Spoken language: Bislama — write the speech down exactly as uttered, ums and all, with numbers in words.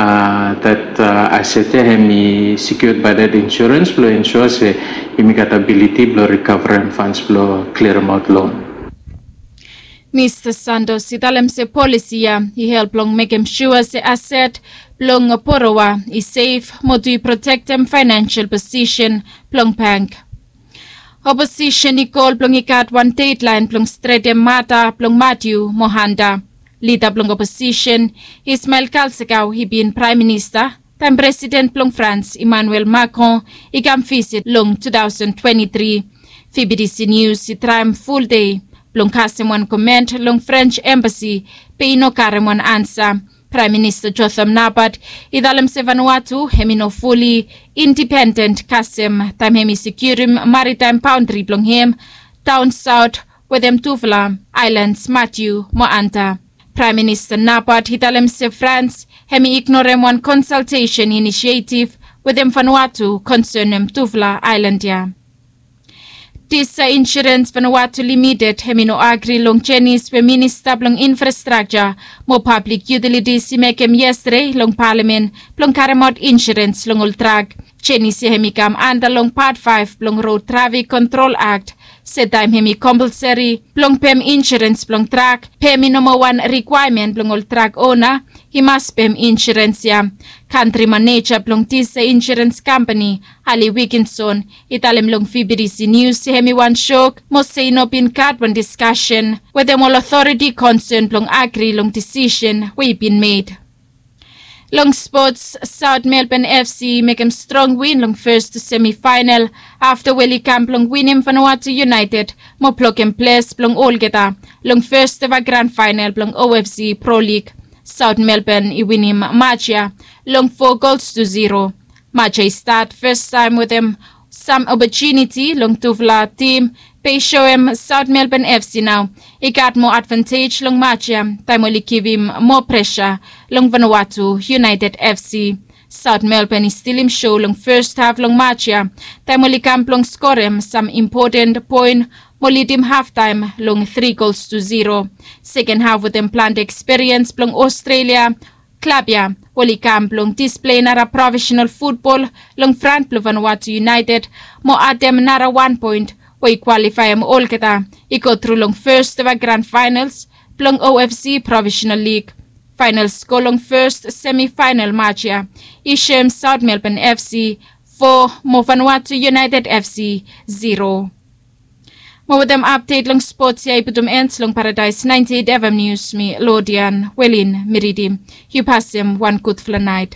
That aset ya hemi secured by that insurance blong ensure se yumi gat abiliti blong recoverem funds blong clearemaot loan. Mista Santos i talem se polisi ya i help long mekem sua se aset blong borowa i sef mo tu i protektem financial posisen blong bank. Oposisen i kol blong i gat wan dedlaen blong stretem mata blong Matiu mo Hanta. Lida blong oposisen Ismael Kalsakau i bin praem minista taem presiden blong Frans Emmanuel Macron i kam visit long two thousand twenty-three. Fibidisi nius i traem fuldei blong kasem wan koment long Frens embasi, be i no karem wan ansa. Praem minista Jotham Napat i talem se Vanuatu hemi no fuli indipenden kasem taem hemi sekiurim maritaem baondri blong hem daon saot wetem tufala aelans Matiu mo Anta. Praem minista Napat i talem se Frans hemi ignorem wan konsaltesen inisietif wetem Vanuatu konsenem tufala aelan ya. Disa insurens Vanuatu limited hemi no agri long jenis we minista blong infrastrakja mo pablik yutilitis i mekem yestede long palamen blong karemaot insurens long ol trak. Jenis ya hemi kam anta long pat faef blong rod trafik kontrol akt, se taem hemi kompalseri blong pem insurens blong trak, pem i no moa wan rikwaemen blong ol trak ona i mas pem insurens ya. Kantri maneja blong disa insurens kampani Ali Wikinson i talem long Fibidisi Nius se hemi wan sok mo se i no bin gat wan diskasen wetem ol otoriti konsen blong agri long disisen we i bin med. Long spots, Saot Melbourne FC i mekem strong win long fes semifaenal afta we oli kam blong winim Vanuatu United mo blokem ples blong olgeta long fes eva gran faenal blong OFC Pro League. Saot Melbourne i winim maj ya long fo gols tu zero. Maj ya i stat fes taem wetem sam opotuniti long tufala tim, be i soem Saot Melbourne FC nao i gat moa advantej long maj ya taem oli givim moa presa long Vanuatu United FC. Saot Melbourne i stilim so long fes haf long maj ya taem oli kam blong skorem sam impoten poen mo lidim haftaem long tri gols tu zero. Seken haf wetem plante ekspiriens blong Ostrelia, klab ya oli kam blong displei nara profesenal futbol long fran blong Vanuatu United mo adem nara wan poen we i kwalifaem olgeta i go tru long fes eva gran faenals blong OFC Profesenal Lig. Faenals go long fes semifaenal maj ya i soem Saot Melbourne FC fo mo Vanuatu United FC zero. Mo wetem apdet long spots ya i putum en long Paradaes naenti eit FM Nius, mi Lodian Welin mi ridim. Yu pasem wan gudfala naet.